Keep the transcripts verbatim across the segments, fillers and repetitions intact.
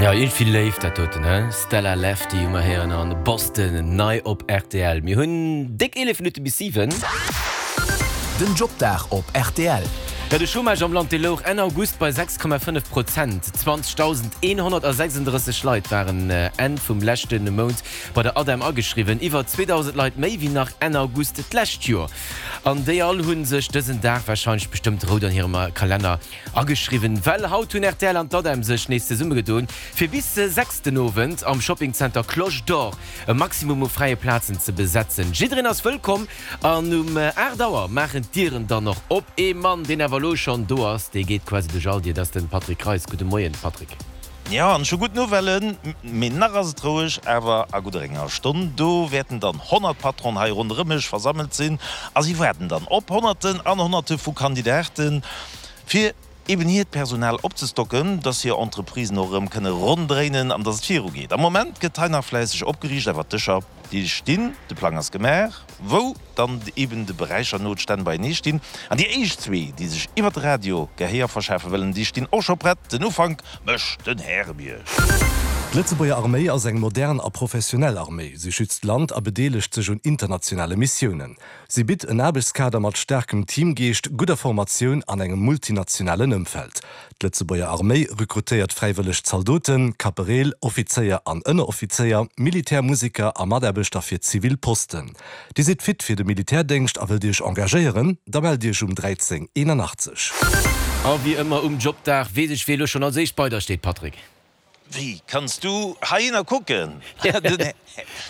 Ja, iergendwéi léif dat doten, he? Stella Lefty hu mer héieren an Boston, nei op rtl. Mir hunn déck eelef Minutte bis siwen. Den Jobdag op rtl. Jo, de Chômage am Land, dee louch Enn August bei sechs Komma fënnef Prozent. zwanzegdausendeenhonnertsechsundrësseg Leit waren Enn vum leschte Mount bei der ADEM ageschriwwen, iwwer zweedausend Leit méi wéi nach Enn August d'lescht Joer. An déi all hu sech dësen Dag warscheinlech bestëmmt rout an hirem Kalenner ageschriwwen, well haut hunn rtl an d'ADEM sech nees zesummegedoen, fir bis sechs den Owend am Shoppingzenter Cloche d'Or e Maximum u fräie Plazen ze besetzen. Jiddereen ass wëllkomm an um aacht Auer maachen d'Dieren dann och op. Ee Mann, deen awer elo schonn do ass, dee geet quasi duerch all Dier, dat ass de Patrick Reis. Gudde Moien, Patrick. Jo, an ech hu gutt Nouvellen, mee nach ass et roueg, awer a gudder enger Stonn, do wäerten dann honnert Patronen hei ronderëm mech versammelt sinn a si waarden dann op Honnerten an Honnerte vu Kandidaten, fir eben hiert Personal opzestocken, dass hir Entreprisen och erëm kënne ronn dréinen an dass et virugeet. Am Moment gëtt hei nach fläisseg opgeriicht, awer d'Dëscher, déi stinn, de Plang ass gemaach, wou dann eben de Beräicher no d'Stänn beienee stinn. An déi éischt zwee, déi sech iwwer de Radio Gehéier verschafe wëllen, déi stinn och scho prett. Den Ufank mécht den Härebierg. D'Lëtzebuerger Arméi ass eng modern a professionell Arméi. Si schützt d'Land a bedeelegt sech un internationale Missiounen. Si bitt en Aarbechtskader mat staarkem Teamgeescht, gudder Formatioun an engem multinationalen Ëmfeld. D'Lëtzebuerger Arméi rekrutéiert fräiwëlleg Zaldoten, Kapereel, Offizéier an Ënneroffizéier, Militärmuseker a Mataarbechter fir zivil Posten. Dir sidd fit fir de Militärdéngscht a wëllt Iech engagéieren? Da mellt Iech um dräizéng eenanachtzeg. A wéi ëmmer um Jobdag weess ech, wee elo schonn als éischt bei der steet, Patrick. Wéi kanns du heihinner kucken?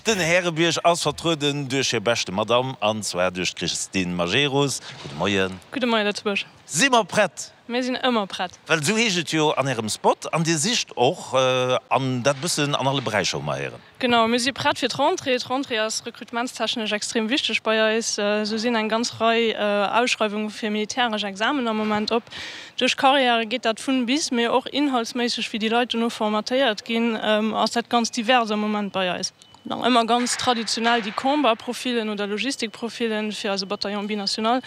Den Härebierg ass vertrueden duerch hir beschte Madame, an zwar duerch d'Christine Majerus. Gudde Moien. Gudde Moien, Lëtzebuerg. Si mer prett? Mir sinn ëmmer prett. Well esou heescht et jo an Ärem Spot, an Dir sicht och, an dat e bëssen an alle Beräicher, hu mer héieren. Genau, mir si prett fir d'Rentrée. D'Rentrée ass rekrutementstechnesch extrem wichteg bei eis. Esou sinn eng ganz Rei Ausschreiwunge fir militäresch Examen am Moment op. Duerch Karriäre geet dat vun bis, mee och inhaltsméisseg, wéi déi Leit dono formatéiert ginn, ass dat ganz divers am Moment bei eis. Nach ëmmer ganz traditionell déi Combat-Profilen oder Logistik-Profilen fir eise Bataillon binational,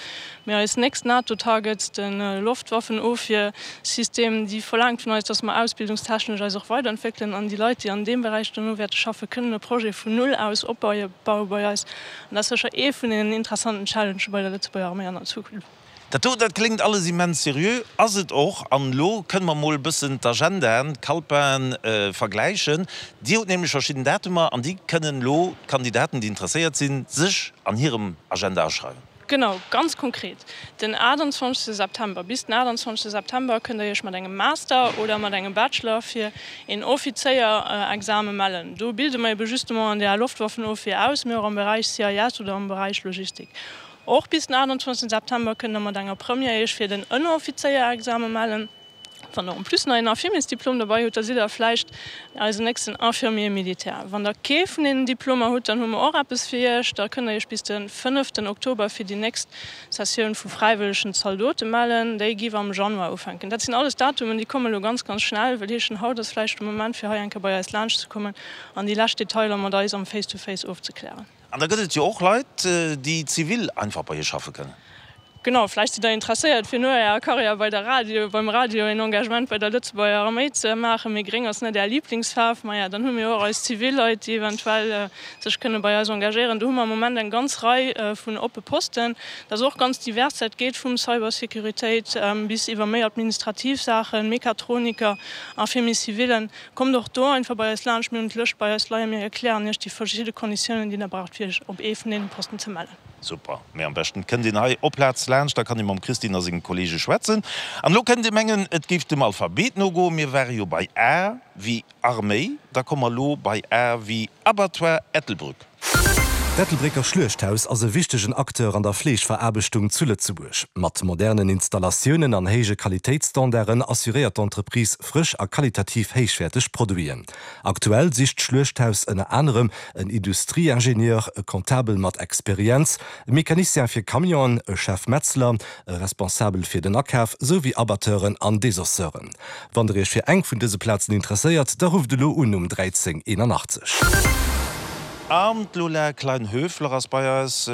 mee eis nächst NATO-Targets, de Loftwaffenofwiersystem, déi verlaangt vun eis, dass mer ausbildungstechnesch eis och weiderentwéckelen an déi Leit, déi an deem Beräich dono wäerte schaffen, kënnen e Projet vun Null aus opbaue bei eis. An dat ass sécher ee vun deenen interessanten Challengë bei der Lëtzebuerger Arméi an der Zukunft. Dat do, dat kléngt alles immens seriö, ass et och. An elo kënne mer mol e bëssen d'Agendaen, d'Calpaen vergläichen. Dir hutt nämlech verschidden Datumer an déi kënnen elo d'Kandidaten, déi interesséiert sinn, sech an hirem Agenda aschreiwen. Genau, ganz konkret, den aachtanzwanzegste September. Bis den aachtanzwanzegste September kënnt der Iech mat engem Master oder mat engem Bachelor fir een Offizéierexame mellen. Do bilde mer ebe justement an der Loftwaffenofwier aus, mee och am Beräich C I S oder am Beräich Logistik. Och bis den aachtanzwanzegsten September kënnt der mat enger Première Iech fir den Ënneroffizéierexame mellen. Wann der en plus nach een Infirmiersdiplom derbei hutt, da sidd der vläicht eisen nächsten Infirmier militaire. Wann der kee vun deenen Diplomer hutt, dann hu mer och eppes fir Iech, da kënnt der Iech bis de fënneften Oktober fir déi nächst Sessioun vu fräiwëllegen Zaldote mellen. Déi giff am Januar ufänken. Dat sinn alles Datumen, déi komme lo ganz, ganz schnell, wëll heeschen, haut ass vläicht de Moment fir hei eng Kéier bei eis laanscht ze kommen an déi lescht Detailer mat eis am Face-to-Face ofzeklären. An da gëtt et jo och Leit, déi zivil einfach bei Iech schaffe kënnen. Genau, vläicht sidd Der interesséiert, fir no Ärer Karriär bei der Radio, beim Radio een Engagement bei der Lëtzebuerger Arméi ze maachen, mee gréng ass net Är Liblingsfaarf. Maja, dann hu mir och eis zivil Leit, déi eventuell sech kënne bei eis engagéieren. Do hu mer am Moment eng ganz Rei vun oppe Posten. Dat ass och ganz divers, dat geet vum Cybersécuritéit bis iwwer méi administrativ Saachen, Mechatroniker, Infirmiers civilen. Kommt och do einfach bei eis laanscht, mir hunn d'Lëscht bei eis leien, mir erklären Iech déi verschidde Konditiounen, déi Der braucht, fir Iech op ee vun deene Posten ze mellen. Super, mee am beschten kënnt een hei op Plaz laanscht, da kann ee mam Christine a senge Kollege schwätzen. An elo kënnt Dir mengen, et géif dem Alphabet nogoen, mir ware jo bei A wéi Arméi, da komme mer elo bei A wéi Abattoir Ettelbrück. D'Ettelbrécker Schluechthaus ass e wichtegen Acteur an der Fleeschveraarbechtung zu Lëtzebuerg. Mat modernen Installatiounen an héije Qualitéitsstandarden assuréiert d'Entreprise frësch a qualitativ héichwäerteg Produiten. Aktuell sicht d'Schluechthaus ënner anerem en Industrieingenieur, e Comptabel mat Experienz, e Mecanicien fir Camionen, e Chef-Metzler, e Responsabel fir den Akaf, sou wéi Abatteuren an Desosseuren. Wann der iech fir eng vun dëse Plazen interesséiert, da rufft elo un um dräizéng eenanachtzeg An d'Lola Klein-Höfler ass bei eis.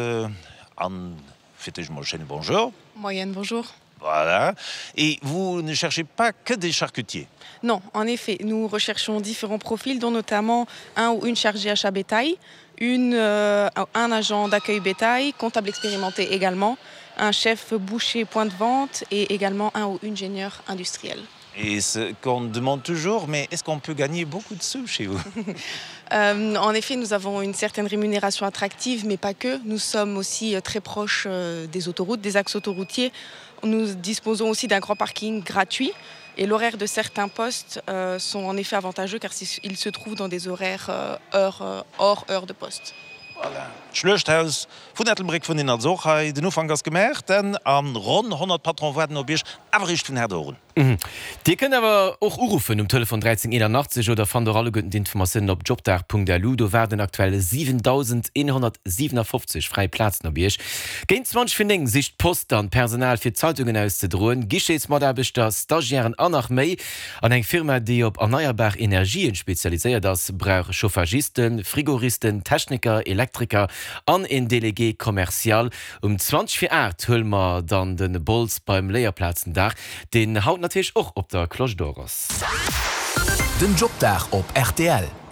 An fir d'éischt emol e schéine Bonjour. Moien, bonjour. Voilà. Et vous ne cherchez pas que des charcutiers? Non, en effet, nous recherchons différents profils, dont notamment un ou une chargée achat bétail, une, euh, un agent d'accueil bétail, comptable expérimenté également, un chef boucher point de vente et également un ou une ingénieur industriel. Et ce qu'on demande toujours, mais est-ce qu'on peut gagner beaucoup de sous chez vous? Euh, en effet, nous avons une certaine rémunération attractive, mais pas que. Nous sommes aussi euh, très proches euh, des autoroutes, des axes autoroutiers. Nous disposons aussi d'un grand parking gratuit. Et l'horaire de certains postes euh, sont en effet avantageux car ils se trouvent dans des horaires euh, heure, euh, hors heure de poste. Voilà. D'Schluechthaus vun Ettelbréck vun den also och hei. Den Ufank ass gemaach, denn an ronn honnert Patron waarden op Iech, awer eréischt vun haut un. Dir kënnt awer och uruffen um Telefon dräizéng eenannachtzeg oder fannt och alleguerten d'Informatiounen op jobdag Punkt L U. Do waarden aktuell siwendausendeenhonnertsiwenafofzeg fräi Plazen op Iech. Géint zwanzeg vir néng sicht d'Post dann Personal fir Zeitungen auszedroen, Guichetsmataarbechter, Stagiairen an nach méi. An eng Firma, déi op erneierbar Energien spezialiséiert ass, brauch Chauffagisten, Frigoristen, Techniker, Elektriker an een Délégué commercial. Um zwanzeg vir aacht huele mer dann de Bols beim Léierplazendag, deen haut natierlech och op der Cloche d'Or ass. Den Jobdag op R T L.